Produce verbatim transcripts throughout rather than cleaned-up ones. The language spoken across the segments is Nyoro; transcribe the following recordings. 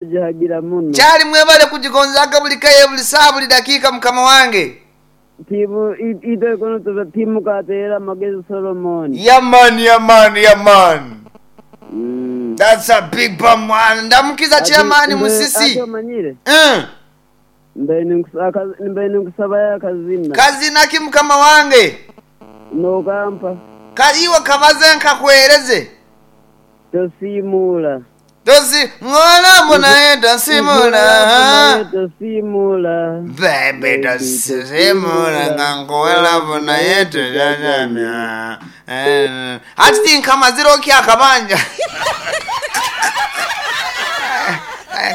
Gihagira muno. Kyali mwebale kugigonzaga buli kaye buli saa buli dakiika mukama wange. Timu itwe kono tuba timu kateera amagezi Solomon. Yeah man, yeah man, yeah man. Mm. That's a big bomb one. Ndamukiza chairman Ate- Musisi. Ate omanyire Mm. mbaine nkus- akazi- mbaine nkusabayo akazina Kazina ki mukama wange? nokampa Kaliwa kabaze nkakwereze. tosiimuula Tosi ngona mbona tosimula. Naye tosiimuula Bebe tosimula nga nkuwela bona yetu jajamya. Ati tinkamazira okya akabanja.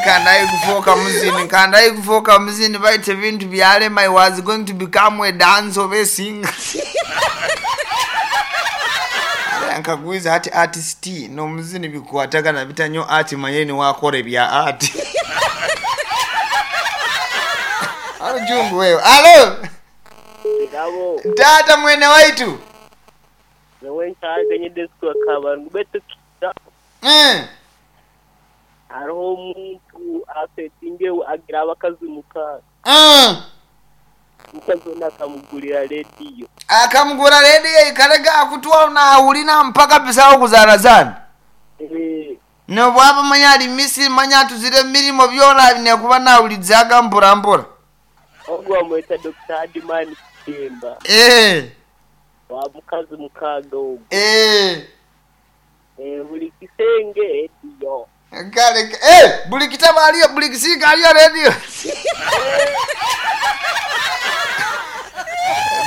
Kandayi kufoka muzini, kandayi kufoka muzini baite ebintu byalema I was going to become a dance of a singer. Nkagwiza ati artist n'omuzini bikwatagana bita nnyo ati manye niwakora ebya art. Alo jungu wewe. Alo Kirabo tata mwene waitu. newe nkyaganyidde abantu betukira Mm. hariho omuntu asetinge agira abakazi mukaaga Mm. omukazi ono akamugurira rediyo Akamugura rediyo ikarega akutwa naawulina mpaka bisawo kuzarazana. Eh, Nobwaba manya ali Misiri manya atuzire emirimo byona nekuba nawulidzaga mpora mpora. ogwo bamweta Dr. Adimani Kitemba Eh. wa mukazi mukaaga ogwo Eh. Eh, buli kisenge rediyo Kale eh buli kitabo aliyo buli kisika aliyo rediyo.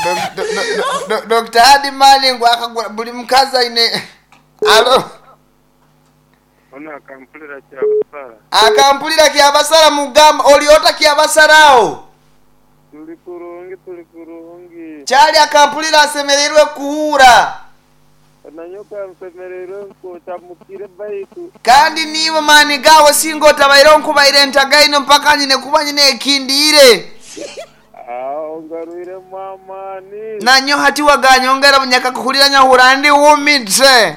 Do- do- do- do- Dr. Hadi Malingo akagura buli mukazi aine alo ono akampulira kyabasala akampulira kyabasala mugamba oliota kyabasalawo tuli kurungi tuli kurungi kyali akampulira asemererwe kuhura onanyoka nsemererwe nkotamukire baitu kandi nibo maani gawe singa otabaire nkubaire entagaino mpaka nyine kuba nyine ekindiire awo ngarwiremu amaani nanyo hati waganyongera bunyaka kuhulira nyahura ndi wumitse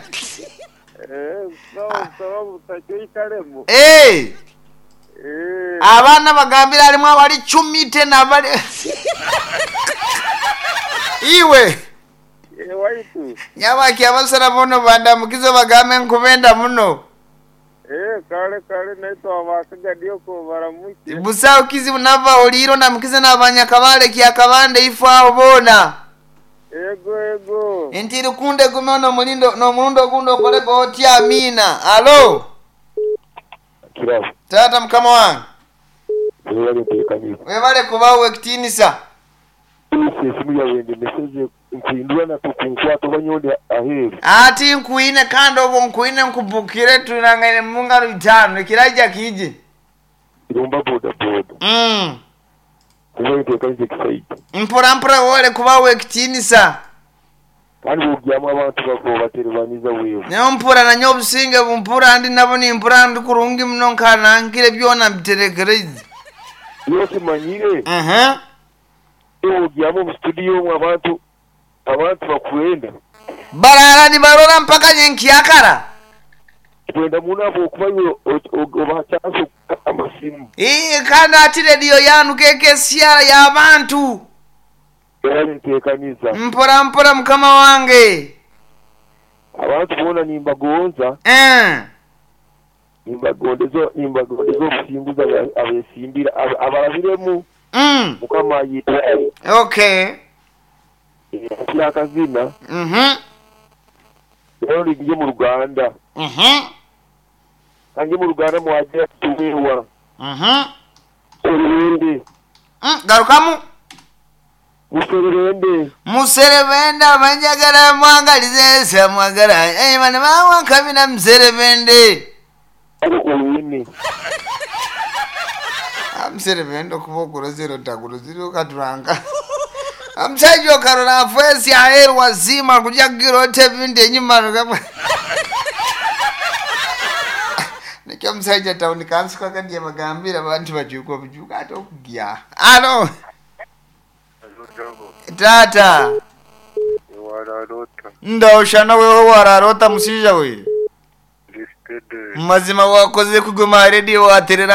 sawa sawa butakyo ikalemu Eh, Eh, abaana bagambira halimu abali cumite nabali iwe eh, waitu nyabaki abasara bono bandamukize bagambe nkubenda muno Eh, kale kale naitwe abakagadioko baramuke busawo kizibu nava oliro ndamukize n'abanyakabale kyakabande ifo aho boona ego ego nti lukunde gume nomulindo n'omulundi ogundi okolege otya amiina alo Kirabo taata mukama wange webale nteekaniza webale kubawo ekitiinisa esimu yawe ndemeseze nkuhindura nako kunkwata oba nyonde aheeru ati nkuine kandi obwo nkuine nkubukire tulangaine mungalo itaano ekirajja kije iromba boda boda mm. webale nteekaniza ekisaija mpora mpora wole kubawo ekitiinisa kandi bwogyamu abantu bako baterebaniza wewe naye mpura nanye obusinge bumpura ndi nabo nimpura ndi kurungi muno nkanankire byona mbiterekereze iyo kimanyire uh-huh. wogyamu omu studio omwo abantu abantu bakwenda barara nibarora mpaka nyenkyakara kwenda muno abo okuba iwe obaha chance okukata amasimu Ii, kandi ati rediyo yanu kekesyara y'abantu webale nteekaniza mpora mpora mukama wange abantu boona nimbagonza Eh. nimbagondeza nimbagondeza obusinguzi aba- abesimbira aba- abarabiremu Mm. mukama ayitaye okay akazina Mhm. rero ngiye mu ruganda Mhm. kange mu ruganda mwagira tuwewa Mhm. sererende Mm, garukamu musererende muserebende abanjagala mwangalize samwagala Eh, bano bawankabina muserebende olwini Ah, muserebende okuba okulozera otakulozera okatulanga omusajja okarola afwesi aheru wazima kuja kugira ota ebintu enyuma rugabwa nikyo omusajja tawuni kansuka kadi bagambira abantu bajuka obujuka ate okugya alo tata wararota ndaoshana wewe wararota musija we ndistede mazima wakoze kuguma rediyo waterera